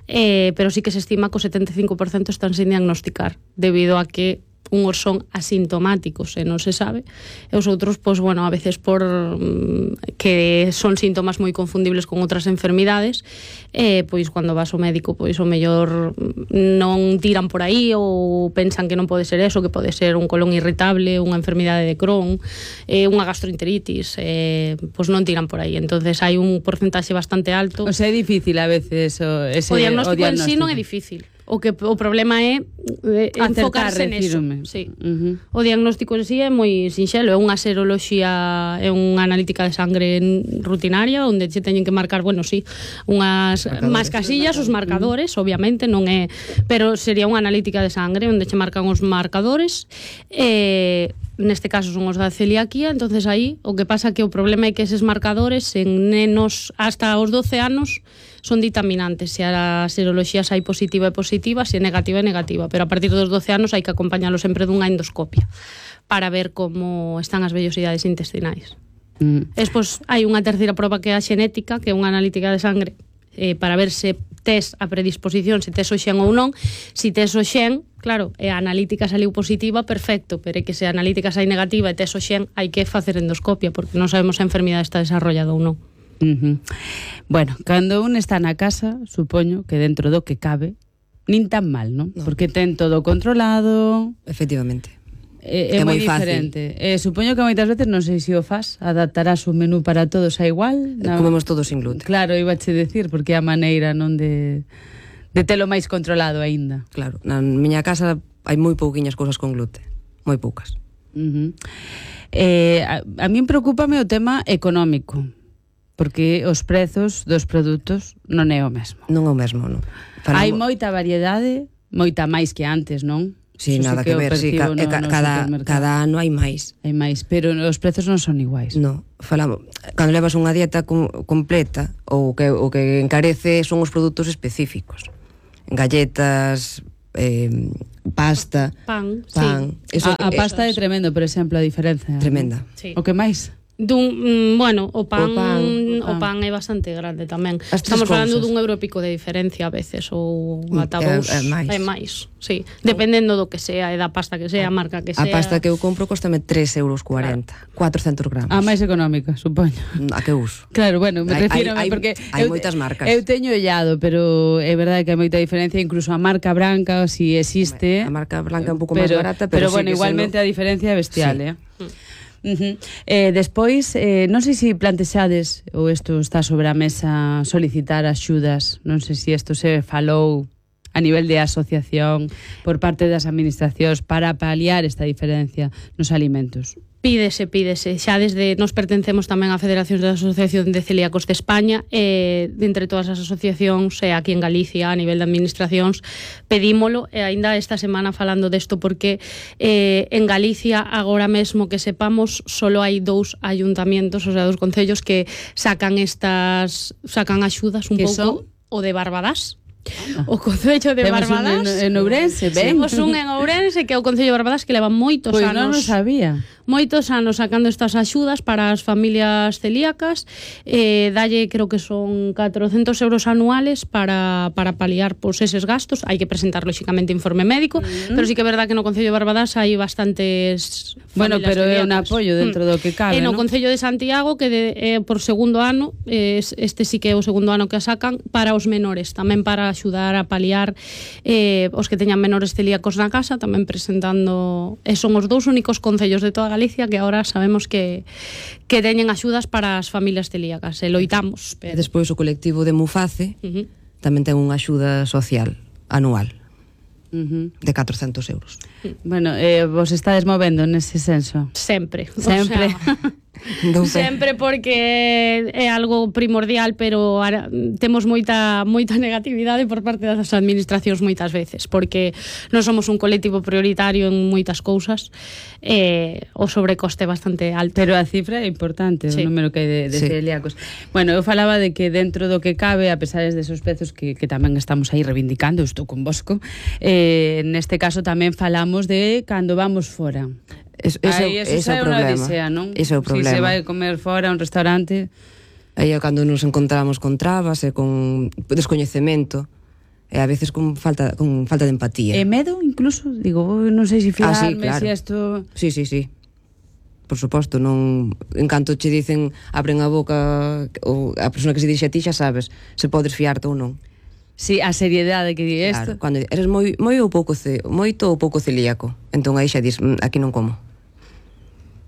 eh, pero sí que se estima que o setenta e cinco por cento están sin diagnosticar, debido a que unhos son asintomáticos e non se sabe, e os outros, pois, bueno, a veces por mm, que son síntomas moi confundibles con outras enfermidades, eh, pois, cando vas ao médico, pois, o mellor non tiran por aí ou pensan que non pode ser eso, que pode ser un colon irritable, unha enfermidade de Crohn, eh, unha gastroenteritis, eh, pois non tiran por aí. Entonces hai un porcentaxe bastante alto. O sea, é difícil a veces o, ese, o diagnóstico, o diagnóstico en sí non é difícil. O que o problema é eh, enfocarse neso. Sí. Uh-huh. O diagnóstico en sí é moi sinxelo, é unha seroloxía, é unha analítica de sangre rutinaria onde che teñen que marcar, bueno, sí, unhas máis casillas, os marcadores, uh-huh. obviamente, non é, pero sería unha analítica de sangre onde che marcan os marcadores. Eh, neste caso son os da celiaquía, entonces aí o que pasa que o problema é que eses marcadores en nenos hasta os doce anos son ditaminantes, se a seroloxía sai positiva é positiva, se é negativa é negativa, pero a partir dos doce anos hai que acompañalo sempre dunha endoscopia para ver como están as vellosidades intestinais. Mm. Despois hai unha terceira proba que é a xenética, que é unha analítica de sangre, eh, para ver se tes a predisposición, se tes o xen ou non. Se tes o xen, claro, e a analítica saliu positiva, perfecto, pero é que se a analítica sai negativa e tes o xen, hai que facer endoscopia, porque non sabemos se a enfermidade está desarrollada ou non. Uh-huh. Bueno, cando un está na casa, supoño que dentro do que cabe, nin tan mal, non? No. Porque ten todo controlado. Efectivamente. É, é, é moi diferente. Eh, supoño que moitas veces, non sei se o faz, adaptarás o menú para todos a igual. Na... Comemos todos sin gluten. Claro, iba che decir, porque é a maneira non de, de telo máis controlado aínda. Claro, na miña casa hai moi pouquiñas cousas con gluten, moi poucas. Uh-huh. eh, a, a min preocúpame o tema económico. porque os prezos dos produtos non é o mesmo. Non é o mesmo, non. Falamos... Hai moita variedade, moita máis que antes, non? Sí, nada que, que ver, sí, ca, no, ca, no cada, cada ano hai máis. Hai máis, pero os prezos non son iguais. No, falamos, cando levas unha dieta com, completa, o que, o que encarece son os produtos específicos. Galletas, eh, pasta, pan, pan. Sí. Eso, a, a pasta é tremendo, por exemplo, a diferenza. Tremenda. Sí. O que máis? Dun, bueno, o pan, o pan, o pan. o pan é bastante grande tamén. As Estamos falando cousas. dun euro e pico de diferencia a veces, ou ata é, dous, é máis. é máis, sí. Dependendo do que sea, e da pasta que sea, a marca que sea. A pasta que eu compro costame tres euros cuarenta, claro. cuatrocentos gramos. A máis económica, supoño. A que uso? Claro, bueno, me refiro hai, porque hai eu, moitas marcas. Eu teño ollado, pero é verdade que hai moita diferencia, incluso a marca branca, si existe. A marca branca é un pouco máis pero, barata, pero, pero bueno, sigue igualmente sendo... a diferencia é bestial, sí. eh. Uh-huh. Eh, despois, eh, non sei se plantexades ou isto está sobre a mesa solicitar axudas, non sei se isto se falou a nivel de asociación por parte das administracións para paliar esta diferencia nos alimentos. Pídese, pídese. Xa desde nos pertencemos tamén á Federación da Asociación de Celíacos de España, e de entre todas as asociacións e aquí en Galicia a nivel de administracións pedímolo, e aínda esta semana falando desto porque eh, en Galicia agora mesmo que sepamos solo hai dous ayuntamientos, o sea, dos concellos que sacan estas sacan axudas un pouco, o de Barbadás. O Concello de Temos Barbadás. un en, en Ourense, ben. Temos un en Ourense que é o Concello de Barbadás que leva moitos pois anos. non o sabía. Moitos anos sacando estas axudas para as familias celíacas, eh, dalle creo que son catrocentos euros anuales para, para paliar pois, eses gastos. Hai que presentar lóxicamente informe médico, mm. pero sí que é verdad que no Concello de Barbadás hai bastantes bueno, pero celíacas. É un apoio dentro mm. do que cabe, E no ¿no? Concello de Santiago que de, eh, por segundo ano, eh, este sí que é o segundo ano que a sacan para os menores, tamén para axudar a paliar eh, os que teñan menores celíacos na casa, tamén presentando, e son os dous únicos concellos de toda Galicia que agora sabemos que que teñen axudas para as familias celíacas, e loitamos. Pero... E despois o colectivo de Muface uh-huh. tamén ten unha axuda social anual uh-huh. de catrocentos euros. Bueno, eh, vos estades movendo nese senso? Sempre. Sempre. O sea, sempre porque é algo primordial, pero ara, temos moita moita negatividade por parte das administracións moitas veces, porque non somos un colectivo prioritario en moitas cousas, e o sobrecoste é bastante alto. Pero a cifra é importante, sí. O número que hai de, de sí. celíacos. Bueno, eu falaba de que dentro do que cabe, a pesar de esos prezos que, que tamén estamos aí reivindicando, eu estou con Bosco, eh, neste caso tamén falamos de cando vamos fora. Es, ese, Aí, eso ese é o problema. Odisea, non? Ese é o problema. Si se vai comer fora a un restaurante. Aí é cando nos encontramos con trabas e con descoñecemento, e a veces con falta con falta de empatía. E medo incluso, digo, non sei se fiarme, ah, sí, claro. se isto... Sí, sí, sí. Por suposto, non en canto che dicen, abren a boca ou a persona que se dixe a ti xa sabes se podes fiarte ou non. Sí, a seriedade que di isto. Claro, cando eres moi moi ou pouco ce, moito ou pouco celíaco, entón aí xa dis, aquí non como.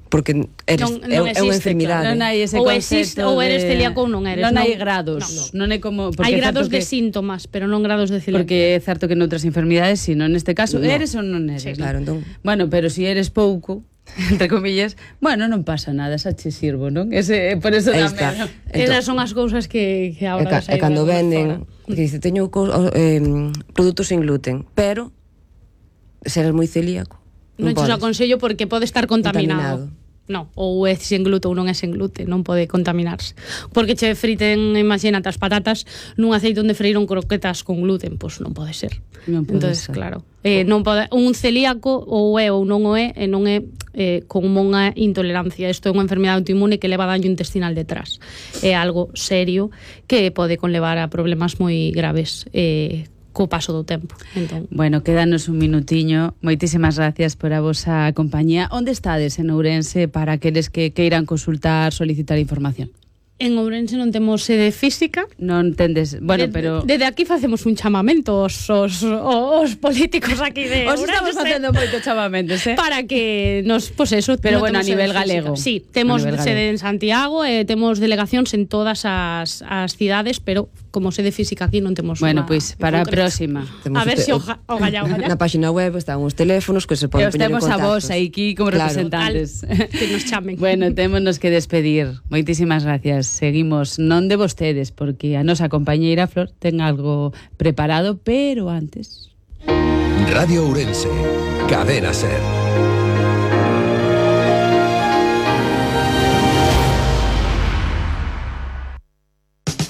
Porque eres non, non é, é unha enfermidade. Claro. Non hai ese ou existe, de... ou eres celíaco ou non eres. Non, non hai non. grados. No, no. Non é como hai grados que... de síntomas, pero non grados de celíaco. Porque é certo que noutras enfermidades, sino neste caso, no. eres ou non eres. Sí, claro, entón. Bueno, pero si eres pouco, entre comillas, bueno, non pasa nada, xa che sirvo, non? Ese, por eso tamén. Entón, esas son as cousas que, que agora... E, ca, e cando venden, que dice, teño eh, produtos sin gluten, pero se eres moi celíaco, non, non te aconsello porque pode estar contaminado. contaminado. No, ou é sen gluten ou non é sen gluten, non pode contaminarse. Porque che friten, imagínate, as patatas nun aceite onde freiron croquetas con gluten, pois non pode ser. Non pode Entonces, ser. claro, eh, non pode, un celíaco ou é ou non o é, e non é eh, como unha intolerancia. Isto é unha enfermidade autoinmune que leva daño intestinal detrás. É algo serio que pode conlevar a problemas moi graves, eh, co paso do tempo. Entón, bueno, quédanos un minutiño. Moitísimas gracias por a vosa compañía. Onde estades en Ourense para aqueles que queiran consultar, solicitar información? En Ourense non temos sede física. Non tendes, bueno, de, pero... Desde aquí facemos un chamamento os, os, os políticos aquí de Os Ourense. estamos facendo moitos chamamentos, eh? Para que nos, pues eso... Pero no bueno, a nivel galego. Sí, temos sede en Santiago, e eh, temos delegacións en todas as, as cidades, pero como sede física aquí non temos. Bueno, pois, pues, para a próxima. A ver se si o, o galla, o galla. Na página web están os teléfonos que se poden poñer en contacto. E os temos a vos aquí como claro. representantes. Al, que nos chamen. Bueno, témonos que despedir. Moitísimas gracias. seguimos non de vostedes, porque a nosa compañeira Flor ten algo preparado, pero antes... Radio Ourense, Cadena Ser.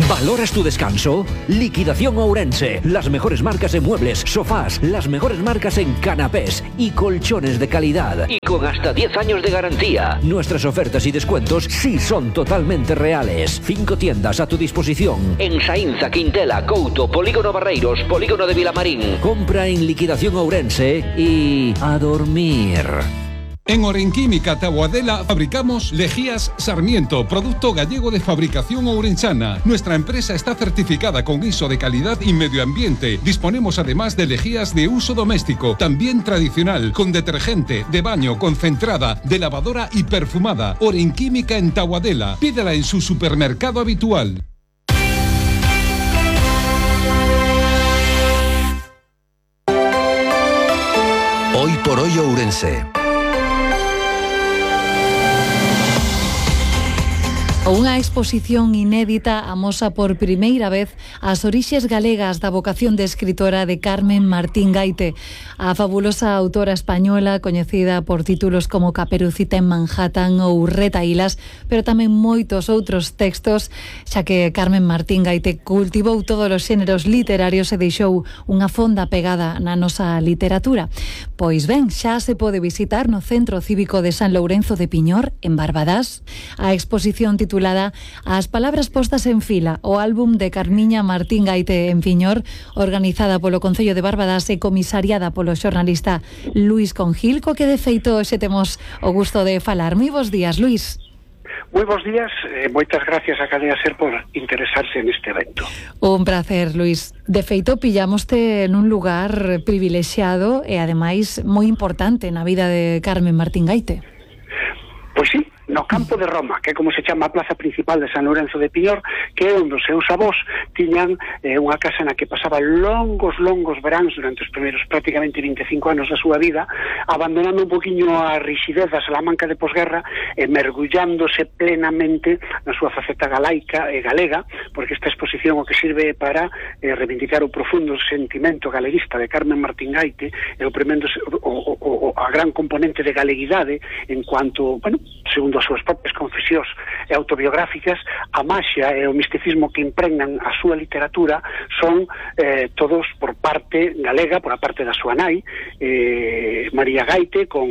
¿Valoras tu descanso? Liquidación Ourense. Las mejores marcas en muebles, sofás, las mejores marcas en canapés y colchones de calidad. Y con hasta diez años de garantía. Nuestras ofertas y descuentos sí son totalmente reales. Cinco tiendas a tu disposición. En Saínza, Quintela, Couto, Polígono Barreiros, Polígono de Vilamarín. Compra en Liquidación Ourense y a dormir. En Orenquímica Taboadela fabricamos Lejías Sarmiento, producto gallego de fabricación ourensana. Nuestra empresa está certificada con I S O de calidad y medio ambiente. Disponemos además de lejías de uso doméstico, también tradicional, con detergente, de baño, concentrada, de lavadora y perfumada. Orenquímica en Taboadela. Pídela en su supermercado habitual. Hoy por hoy Ourense. Unha exposición inédita amosa por primeira vez as orixes galegas da vocación de escritora de Carmen Martín Gaite. A fabulosa autora española, coñecida por títulos como Caperucita en Manhattan ou Retahílas, pero tamén moitos outros textos, xa que Carmen Martín Gaite cultivou todos os xéneros literarios e deixou unha fonda pegada na nosa literatura. Pois ben, xa se pode visitar no Centro Cívico de San Lourenzo de Piñor, en Barbadás, a exposición titulada As palabras postas en fila, o álbum de Carmiña Martín Gaite en Piñor, organizada polo Concello de Barbadás e comisariada polo xornalista Luís Congilco, que de feito xe temos o gusto de falar. Moi bons días, Luís. Moi bons días, e moitas gracias a Cadena Ser por interesarse neste evento. Un placer, Luís. De feito, pillámoste nun lugar privilexiado e ademais moi importante na vida de Carmen Martín Gaite. Pois sí, no campo de Roma, que é como se chama a plaza principal de San Lourenzo de Piñor, que é onde os seus avós tiñan eh, unha casa na que pasaba longos, longos veráns durante os primeiros prácticamente vinte e cinco anos da súa vida, abandonando un poquinho a rixidez da Salamanca de posguerra e mergullándose plenamente na súa faceta galaica e galega, porque esta exposición o que sirve para eh, reivindicar o profundo sentimento galeguista de Carmen Martín Gaite e o, o, o, o a gran componente de galeguidade en cuanto, bueno, segundo as súas propias confesións e autobiográficas, a maxia e o misticismo que impregnan a súa literatura son eh, todos por parte galega, por a parte da súa nai, eh, María Gaite, con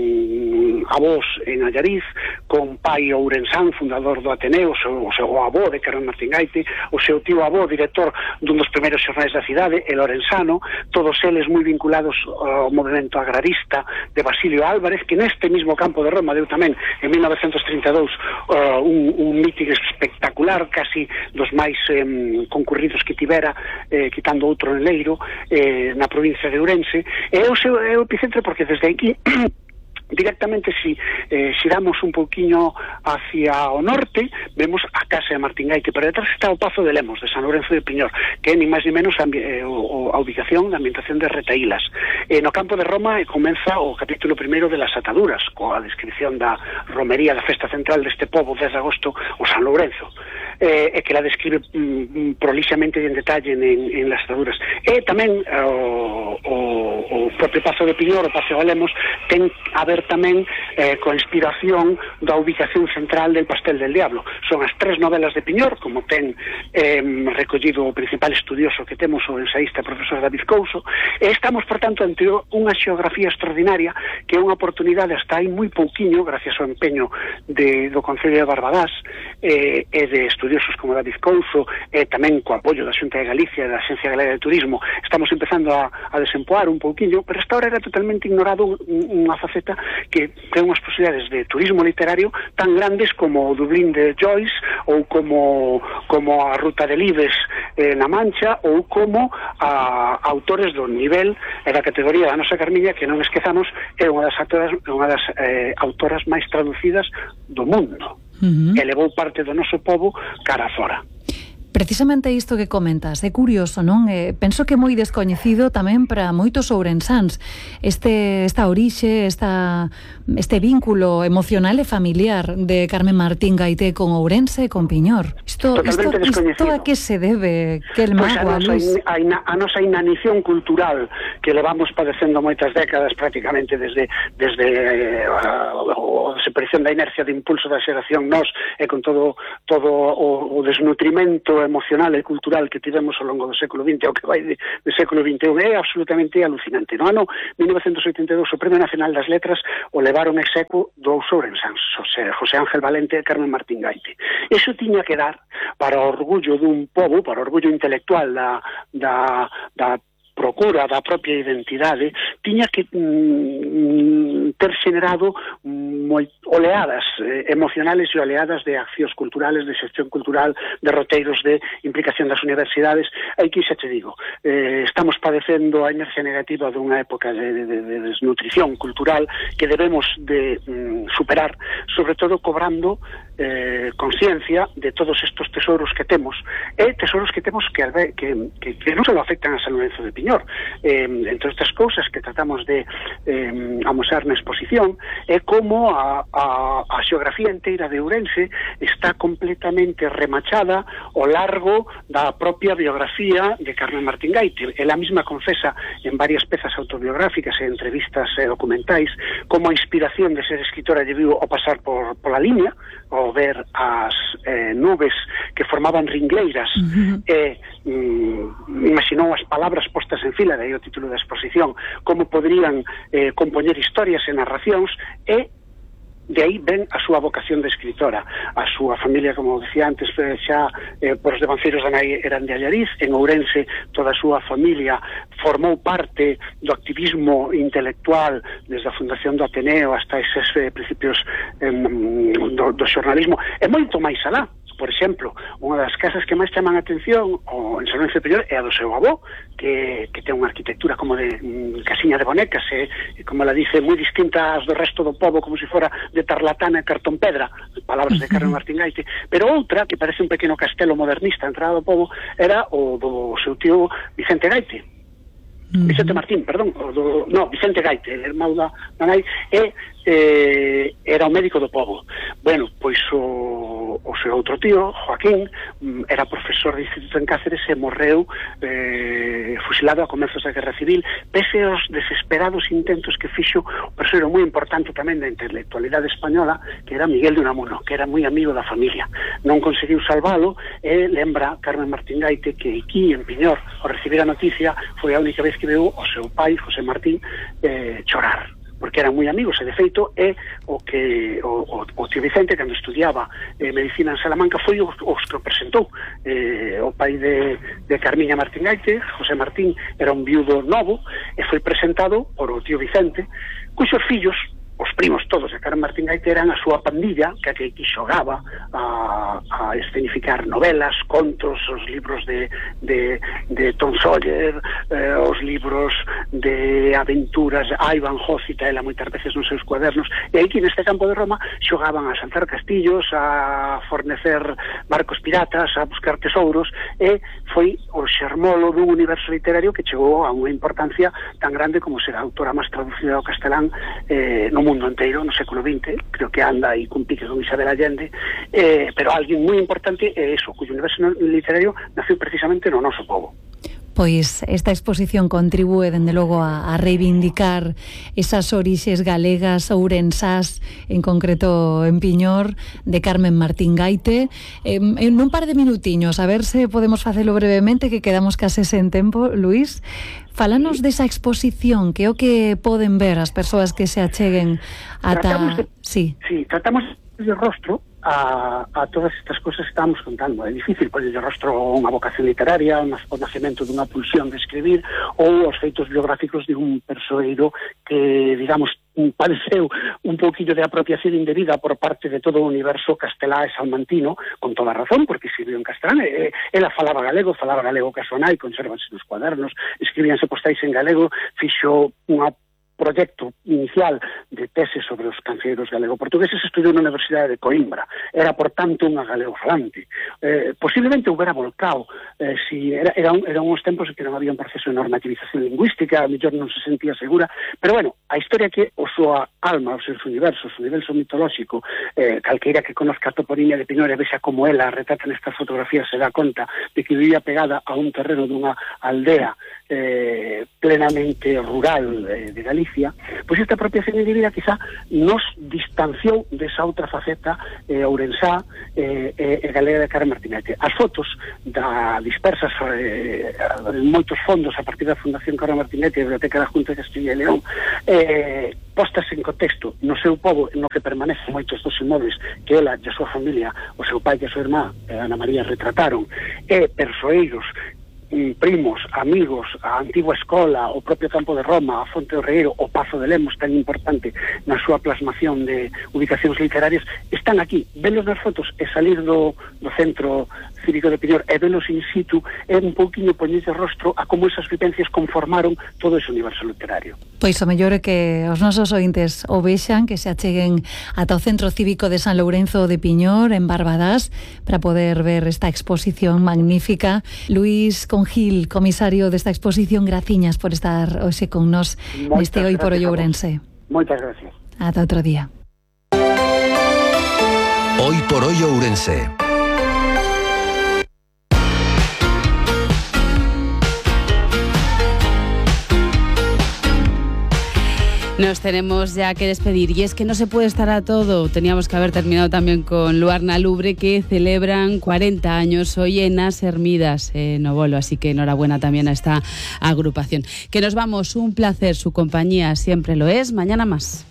avós en Allariz, con pai ourensán, fundador do Ateneo, o seu, o seu avó de Carmen Martín Gaite, o seu tío avó, director dun dos primeiros xornais da cidade, el orensano, todos eles moi vinculados ao movimento agrarista de Basilio Álvarez, que neste mismo campo de Roma deu tamén en mil novecentos trinta e dous uh, un, un míting espectacular, casi dos máis eh, concurridos que tivera, eh, quitando outro en Leiro, eh, na provincia de Ourense. E o seu é o epicentro porque desde aquí directamente, si eh, xiramos un pouquiño hacia o norte, vemos a casa de Martín Gaite, pero detrás está o Pazo de Lemos de San Lourenzo de Piñor, que é ni máis ni menos a, eh, o, a ubicación da ambientación de Retahílas. Eh, no campo de Roma eh, comeza o capítulo primeiro de las ataduras, coa descripción da romería da festa central deste pobo dez de agosto, o San Lourenzo, eh, e que la describe mm, prolixamente e en detalle en, en las ataduras. E tamén eh, o, o, o propio Pazo de Piñor, o Pazo de Lemos, ten a ver tamén eh, con inspiración da ubicación central del Pastel del Diablo. Son as tres novelas de Piñor, como ten eh, recollido o principal estudioso que temos, o ensaísta profesor David Couso, e estamos, por tanto, ante unha xeografía extraordinaria que é unha oportunidade hasta aí moi pouquiño, gracias ao empeño de, do Concello de Barbadás eh, e de estudiosos como David Couso, e tamén co apoio da Xunta de Galicia e da Axencia Galega de Turismo, estamos empezando a, a desempoar un pouquiño, pero hasta ahora era totalmente ignorado unha faceta que ten unhas posibilidades de turismo literario tan grandes como o Dublín de Joyce, ou como como a Ruta de Libes eh, na Mancha, ou como a, a autores do nivel e da categoría da nosa Carmiña, que non esquezamos é unha das autoras, unha das eh, autoras máis traducidas do mundo. Uh-huh. Elevou parte do noso pobo cara fora. Precisamente isto que comentas, é curioso, non? Eh, penso que é moi descoñecido tamén para moitos ourensáns este, esta orixe, esta, este vínculo emocional e familiar de Carmen Martín Gaité con Ourense e con Piñor. Isto, isto, isto a que se debe? Que el mago, pues a, nosa, a, a, a nosa inanición cultural que levamos padecendo moitas décadas prácticamente desde, desde eh, a, a desaparición da inercia de impulso da xeración nós e con todo, todo o, o desnutrimento emocional e cultural que tivemos ao longo do século vinte, o que vai de, do século vinte e un, é absolutamente alucinante. No ano mil novecentos oitenta e dous, o Premio Nacional das Letras o levaron execuo dous ourensáns, José, José Ángel Valente e Carmen Martín Gaité. Iso tiña que dar para o orgullo dun pobo, para o orgullo intelectual da, da, da procura da propia identidade, tiña que mm, ter xenerado moi, oleadas eh, emocionales e oleadas de accións culturales, de xestión cultural, de roteiros de implicación das universidades. Aquí xa te digo, eh, estamos padecendo a inercia negativa dunha época de, de, de desnutrición cultural que debemos de mm, superar, sobre todo cobrando eh, conciencia de todos estos tesoros que temos, e tesoros que temos que, que, que, que non só afectan a San Lorenzo de Piñor. Eh, entre estas cousas que tratamos de eh, amosar na exposición é como a, a, a xeografía inteira de Ourense está completamente remachada ao largo da propia biografía de Carmen Martín Gaité. Ela mesma confesa en varias pezas autobiográficas e entrevistas e documentais como a inspiración de ser escritora lle viu ao pasar por, pola línea, ao ver as eh, nubes que formaban ringleiras uh-huh. e mm, imaginou as palabras postas en fila, de aí o título da exposición, como poderían eh, compoñer historias e narracións, e de aí ven a súa vocación de escritora. A súa familia, como decía antes, xa eh, por os devanceiros da nai eran de Allariz. En Ourense toda a súa familia formou parte do activismo intelectual desde a fundación do Ateneo hasta eses eh, principios eh, do, do xornalismo, e moito máis alá. Por exemplo, unha das casas que máis chaman a atención o en San Lorenzo de Piñor é a do seu avó, que, que ten unha arquitectura como de mm, casiña de bonecas, e, como ela dice, moi distinta ás do resto do pobo, como se fora de tarlatana e cartón pedra, palabras de Carmen Martín Gaité. Pero outra, que parece un pequeno castelo modernista entrada do pobo, era o do seu tío Vicente Gaité. Uh-huh. Vicente Martín, perdón, o do, no, Vicente Gaité, irmão da nai, e eh, era o médico do pobo. Bueno, pois o, o seu outro tío, Joaquín, era profesor de instituto en Cáceres e morreu eh, fusilado a comezos da Guerra Civil, pese aos desesperados intentos que fixo o persoeiro moi importante tamén da intelectualidade española, que era Miguel de Unamuno, que era moi amigo da familia. Non conseguiu salvalo, e lembra Carmen Martín Gaité que aquí en Piñor, ao recibir a noticia, foi a única vez que veu o seu pai, José Martín, eh, chorar, porque eran moi amigos, e de feito é o que o, o, o tío Vicente, cando estudiaba eh, medicina en Salamanca, foi os, os que o presentou. Eh, o pai de, de Carmiña Martín Gaité, José Martín, era un viudo novo, e foi presentado por o tío Vicente, cuxos fillos, os primos todos de Carmen Martín Gaité, eran a súa pandilla, que aquí xogaba a, a escenificar novelas, contos, os libros de, de, de Tom Sawyer, eh, os libros de aventuras, a Ivan Ho cita ela moitas veces nos seus cuadernos, e aquí neste campo de Roma xogaban a saltar castillos, a fornecer barcos piratas, a buscar tesouros, e foi o xermolo dun universo literario que chegou a unha importancia tan grande como ser a autora máis traducida ao castelán eh, no mundo inteiro no século vinte, creo que anda aí cun pique con Isabel Allende, eh, pero alguén moi importante é eso, cuyo universo literario nació precisamente no noso povo. Pois esta exposición contribúe, dende logo, a, a reivindicar esas orixes galegas, ourensás, en concreto en Piñor, de Carmen Martín Gaité. Eh, en un par de minutiños, a ver se podemos facelo brevemente, que quedamos case sen tempo, Luís. Fálanos desa exposición, que é o que poden ver as persoas que se acheguen ata... De, sí. sí, tratamos de rostro a, a todas estas cousas que estamos contando. É difícil poner de rostro unha vocación literaria, o nacemento dunha pulsión de escribir, ou os feitos biográficos de un persoeiro que, digamos, padeceu un pouquillo de apropiación indebida por parte de todo o universo castelá e salmantino, con toda razón, porque escribiu en castelán. E, ela falaba galego, falaba galego ca súa nai, consérvanse nos cuadernos, escribíanse postais en galego, fixo unha proxecto inicial de tese sobre os cancioneiros galego-portugueses estudou na Universidade de Coimbra. Era, por tanto, unha galego-falante. Eh, posiblemente houbera volcado, eh, si era, era, un, era uns tempos en que non había un proceso de normativización lingüística, a mellor non se sentía segura, pero bueno, a historia que o súa alma, os seus universos, o universo mitolóxico, eh, calqueira que conozca a Toporiña de Piñor e vexa como ela retrata nestas fotografías se dá conta de que vivía pegada a un terreno dunha aldea eh, plenamente rural eh, de Galicia, pois esta apropiación indebida quizá nos distanciou desa outra faceta eh, ourensá e eh, eh, galega de Carmen Martinete. As fotos da dispersas eh, en moitos fondos a partir da Fundación Carmen Martinete e da Biblioteca da Junta de Castilla e León, eh, postas en contexto no seu pobo, no que permanecen moitos dos inmóveis que ela e a súa familia, o seu pai e a súa irmá, eh, Ana María, retrataron, e persoeiros, primos, amigos, a antigua escola, o propio campo de Roma, a Fonte do Regueiro, o Pazo de Lemos, tan importante na súa plasmación de ubicacións literarias, están aquí. Velos nas fotos e salir do, do centro cívico de Piñor e velos in situ é un pouquinho poñerlle rostro a como esas vivencias conformaron todo ese universo literario. Pois o mellor é que os nosos ointes o vexan, que se acheguen ata o Centro Cívico de San Lourenzo de Piñor, en Barbadás, para poder ver esta exposición magnífica. Luís Congil, comisario desta exposición, graciñas por estar hoxe con nos neste Hoy por Hoy Ourense. Moitas gracias. Ata outro día. Hoy por Hoy Ourense. Nos tenemos ya que despedir y es que no se puede estar a todo. Teníamos que haber terminado también con Luarna Lubre, que celebran cuarenta años hoy en As Hermidas, en Novolo, así que enhorabuena también a esta agrupación. Que nos vamos, un placer, su compañía siempre lo es. Mañana más.